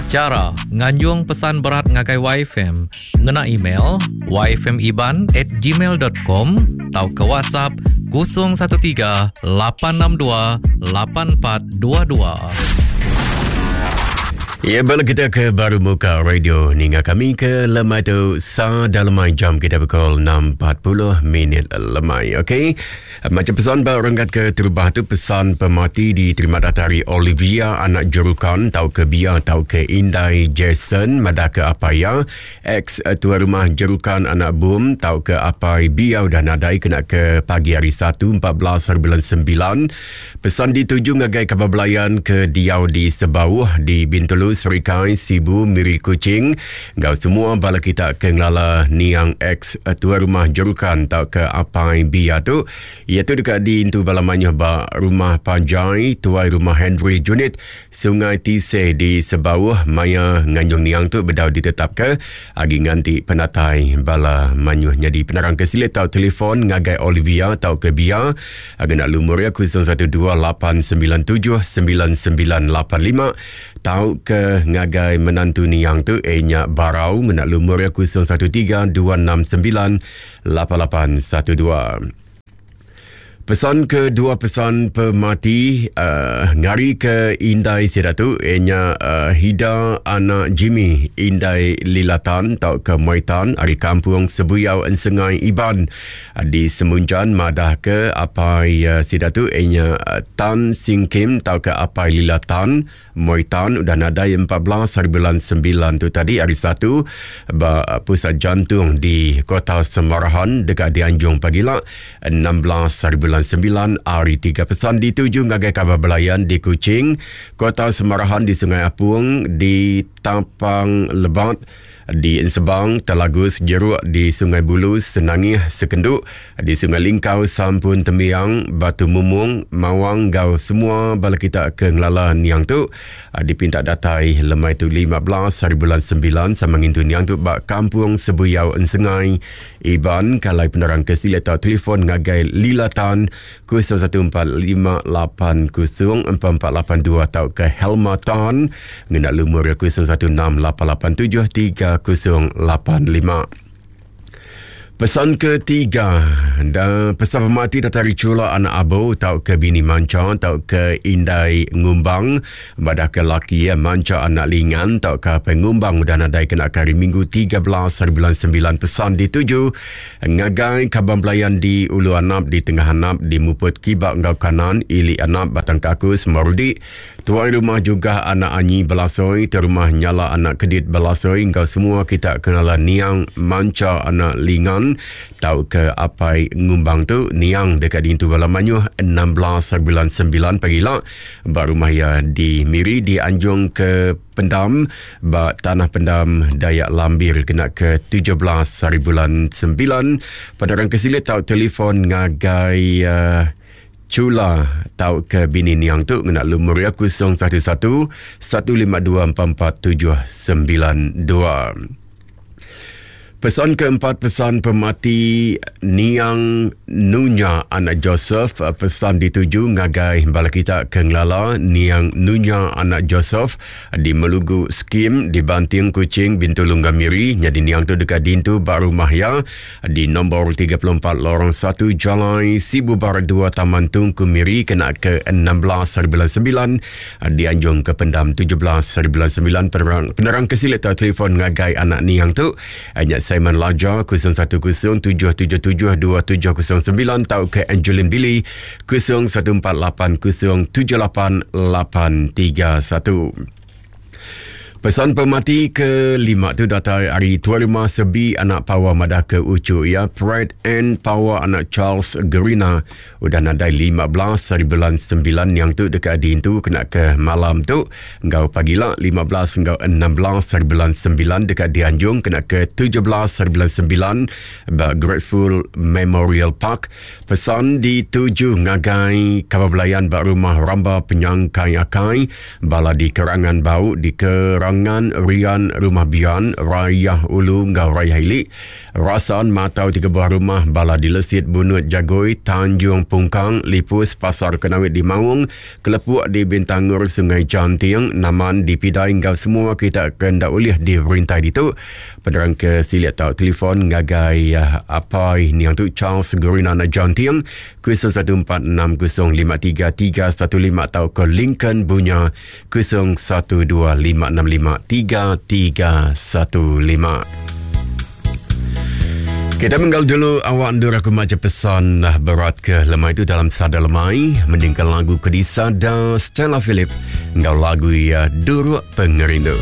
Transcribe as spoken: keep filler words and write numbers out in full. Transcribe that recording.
Chara nganjung pesan berat ngagai Y F M ngena email y f m iban at gmail dot com atau ke WhatsApp kosong satu tiga lapan enam dua lapan empat dua dua. Ya, bala kita ke baru muka radio ninga kami ke lemai tu sa dalam jam kita pukul enam empat puluh minit lemai. Okey. Macam pesan ba renggat ke terubah tu, pesan pemati diterima datari Olivia anak Jerukan tau ke Bia tau ke Indai Jason madah ke apa ya ex tuan rumah Jerukan anak Bum tau ke apai Bia udah nadai kena ke pagi hari satu empat belas hari bulan sembilan. Pesan dituju ngagai kabar belayan ke diau di Sebauh di Bintulu, Serikai, Sibu, Miri, Kuching. Ngau semua bala kita ke ngelala niang ex tuan rumah Jerukan tau ke apai Bia tu, iaitu dekat di Intu Bala Manyuh ba Rumah Panjai, Tuai Rumah Henry Junit, Sungai Tiseh di Sebauh. Maya nganjung niang tu bedau ditetap ke agi nganti penatai bala manyuh. Jadi penerang ke silit tau telefon ngagai Olivia tau ke Bia agak nak lumur ya kosong satu dua lapan sembilan tujuh sembilan sembilan lapan lima tau ke ngagai menantu niang tu enya Barau ngena lumur ya kosong satu tiga dua enam sembilan lapan lapan satu dua. Pesan kedua, pesan pemati uh, ngari ke Indai Siratu enya uh, Hida anak Jimmy Indai Lilatan tau ke Moitan ari kampung Sebuyau Ensengai Iban di Semunjan madah ke apai uh, Siratu enya uh, Tan Sing Kim tau ke apai Lilatan Moitan udah nadai empat belas hari bulan sembilan tu tadi hari satu ba pusat jantung di Kota Semarahan dekat di Anjung pagi lah enam belas hari bulan sembilan hari tiga. Pesan dituju ngagai kabar belayan di Kuching, Kota Semarahan di Sungai Apung, di Tapang Lebat, di Ensebang, Telagus, Jeruk, di Sungai Bulu, Senangih, Sekenduk, di Sungai Lingkau, Sampun Temiang, Batu Mumung, Mawang, gau semua bala kita ke ngelala niang tu dipinta datai lemai tu lima belas hari bulan sembilan sama ngintu niang tu bak kampung Sebuyau Ensengai Iban. Kalai penerang ke sila atau telefon ngagai Lilatan kosong satu empat lima lapan kosong empat empat lapan dua atau ke Helma Tan ngena lumur kosong satu enam lapan lapan tujuh tiga kosong lapan lima. Pesan ketiga, dan pesan pemati datari Cula anak Abu tau ke bini Manca tau ke Indai Ngumbang badah ke laki ya Manca anak Lingan tau ke Pengumbang udah nadai kena hari Minggu tiga belas hari bulan sembilan. Pesan dituju ngagai kaban belayan di Ulu Anap, di Tengah Anap, di Muput Kibak Ngau Kanan, Ili Anap, Batang Kakus, Marudi. Tuan rumah juga anak Anyi Belasoi, terumah Nyala anak Kedit Belasoi. Engkau semua kita kenalan niang Manca anak Lingan tau ke apai Ngumbang tu niang dekat di Intu Bala Manyuh enam belas bulan sembilan pagi lah ba rumah ya di Miri di Anjung ke Pendam ba Tanah Pendam Dayak Lambir kena ke tujuh belas hari bulan sembilan. Penerang kesilit tau telefon ngagai uh, Cula tau ke bini niang tu ngena lumur ya kosong satu satu satu lima dua empat empat tujuh sembilan dua. Pesan keempat, pesan pemati niang Nunya anak Joseph. Pesan dituju ngagai bala kita ke ngelala niang Nunya anak Joseph di Melugu Skim di Banting Kuching Bintulu Gamiri. Jadi niang tu dekat dintu ba rumah ya di nombor tiga puluh empat Lorong satu Jalai Sibu Barat dua Taman Tungku Miri kena ke enam belas hari bulan sembilan di Anjung ke Pendam tujuh belas hari bulan sembilan. Penerang, penerang kesilit atau telefon ngagai anak niang tu hanya Simon Laja kosong satu kosong tujuh tujuh tujuh dua tujuh kosong sembilan atau ke Angelin Billy kosong satu empat lapan kosong tujuh lapan lapan tiga satu. Pesan pemati kelima tu datang hari Tuan Rumah Sebi anak Power madah ke Ucu ya Pride and Power anak Charles Gerina udah nadai lima belas hari bulan sembilan yang tu dekat di tu kena ke malam tu ngau pagi lah lima belas ngau enam belas hari bulan sembilan dekat di Anjung kena ke tujuh belas hari bulan sembilan ba Grateful Memorial Park. Pesan dituju ngagai kabar belayan ba rumah Ramba Penyangkai Akai bala di Kerangan Bau di ke Rangan, Rian, Rumah Bian, Rayah Ulu ngau Rayah Ili, Rasan, Matau tiga buah rumah, Bala di Lesit, Bunut, Jagoi, Tanjung Pungkang, Lipus, Pasar Kenawit di Maung, Kelepuk di Bintangur, Sungai Janting, Naman di Pidai ngau semua kita kena ulih di rintai ditu. Penerang ke silik tau telefon ngagai uh, apa ini yang tu Charles Gurinana Janting kosong satu empat enam kosong lima tiga tiga satu lima atau ke Lincoln Bunya kosong satu dua lima enam lima tiga tiga satu lima. Kita menggal dulu awak ndur aku baca pesan berat ke lemai itu dalam sada lemai mendingkan lagu Kedisa dan Stella Philip ngau lagu ya Duruk Pengerindu.